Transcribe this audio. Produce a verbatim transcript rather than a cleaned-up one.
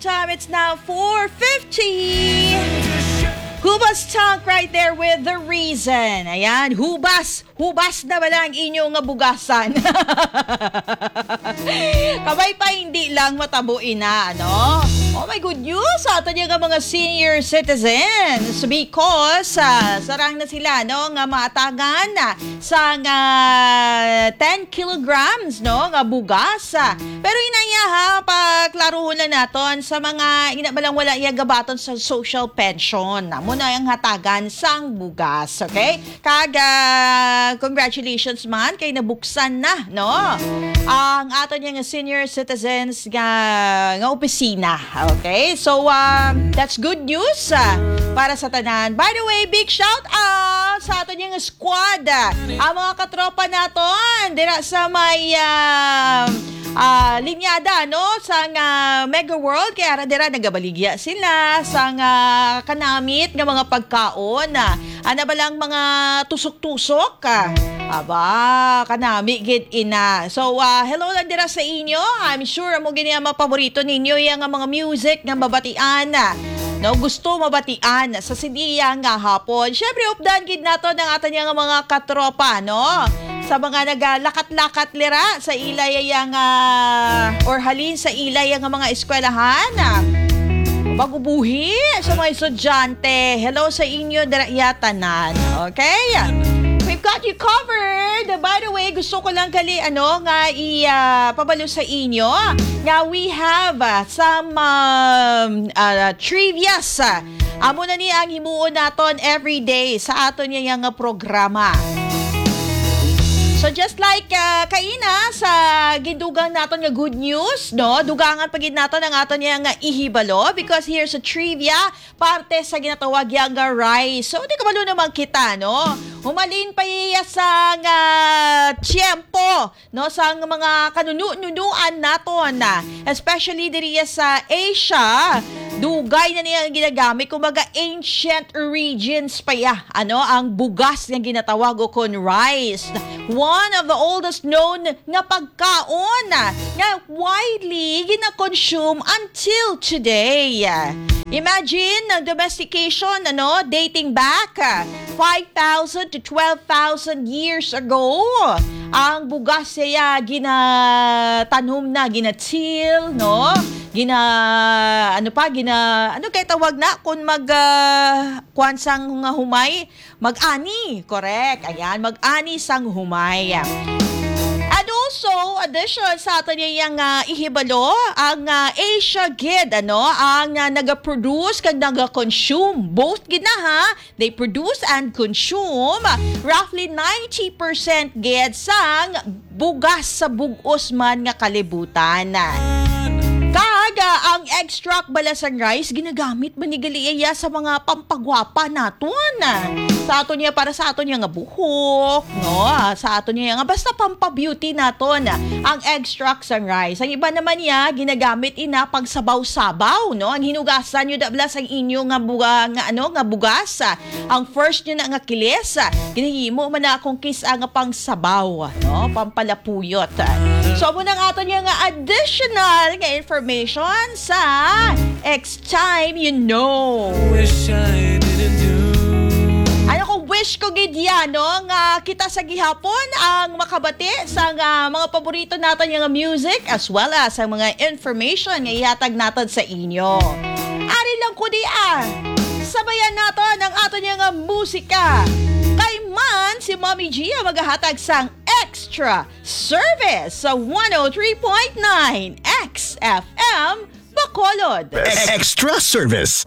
Time, it's now four fifty. Hubas Talk right there with The Reason. Ayan, hubas. Hubas na ba lang inyo nga bugasan? Kabay pa, hindi lang matabo ina, ano? Oh my, good news sa ato niya nga mga senior citizens because ah, sarang na sila, no, nga maatagan sa nga ten kilograms, no, nga bugas. Pero inaya ha, paklaruhon na naton sa mga ina ba lang wala iya gabaton sa social pension. Amo na ang hatagan sang bugas, okay? Kag ah, congratulations man kay nabuksan na, no, ang ato niya nga senior citizens nga nga opisina. Okay? So um, that's good news ah, para sa tanan. By the way, big shout out sa ato niya nga squad, ah, ang mga katropa naton dira sa may ah, ah, linyada, no, sa nga Mega World. Kay ara dira nagabaligya sila sa nga kanamit nga mga pagkaon, ah, ana ba lang mga tusok-tusok, ah. Aba, kanami gid ina. So ah, hello lang dira sa inyo. I'm sure amo gini ang mga paborito ninyo, yang nga mga music nga mabatian, ah, no, gusto mabatian sa siniya nga hapon. Syempre, updan gid nato ang ato niya nga mga katropa, no, sa mga nagalakat-lakat lira sa ilay yang ah, or halin sa ilay yang mga eskwelahan, ah, bagubuhi sa mga estudyante. Hello sa inyo dira iya tanan. Okay? We've got you covered. By the way, gusto ko lang gali ano nga i ah, pabalo sa inyo nga we have ah, some um, ah, trivias. Ah. Amo na ni ang himuon naton every day sa aton niya nga programa. So just like ah, kaina sa gindugang naton nga good news, no? Dugangan pa gid naton ang aton niya nga ihibalo because here's a trivia, parte sa ginatawag ya nga rice. So di kabalo naman kita, no? Humalin pa iya sa nga tiyempo, no, sa mga kanununuan naton, ah, especially diri sa Asia. Dugay na niya ang ginagamit, kumbaga ancient origins pa ya, ano, ang bugas nga ginatawag o kon rice. One of the oldest known nga pagkaon, ah, nga widely gina-consume until today. Imagine ang domestication, ano, dating back ah, five thousand to twelve thousand years ago. Ang bugas siya ginatanom na, ginatil, no? Gina, ano pa, gina, ano kay tawag na kung mag, ah, kuwan sang nga humay? Mag-ani, correct. Ayan, mag-ani sang humay. And also, addition sa ato niya nga ihibalo, ang ah, Asia gid, ano, ang ah, nagaproduce kag nagakonsume. Both gid na, ha? They produce and consume roughly ninety percent gid sang bugas sa bug-os man nga kalibutan. Kag ah, ang extract bala sang rice ginagamit man ni gali iya sa mga pampagwapa naton. Sa aton niya, para sa aton niya nga buhok, no? Ah, sa aton niya nga basta pampabeauty naton ang extract sang rice. Ang iba naman niya ginagamit ina pagsabaw-sabaw, no? Ang hinugasan niyo da bala sang inyo nga buga, nga ano, nga bugas, ah, ang first niyo na nga kilis, ah, ginahimo man na akong kis-a nga pangsabaw, no? Pampalapuyot. So, amo na ang aton niya nga additional nga information sa X Time You Know. Wish I didn't do. Ano ko, wish ko gid yan, no? Nga kita sa gihapon ang makabati sa nga mga paborito naton nga music as well as ang mga information nga ihatag naton sa inyo. Ari lang ko di ah. Sabayan naton ang aton nga musika. Kay man si Mommy G ang magahatag sang extra service sa one oh three point nine X F M Bacolod. Extra service.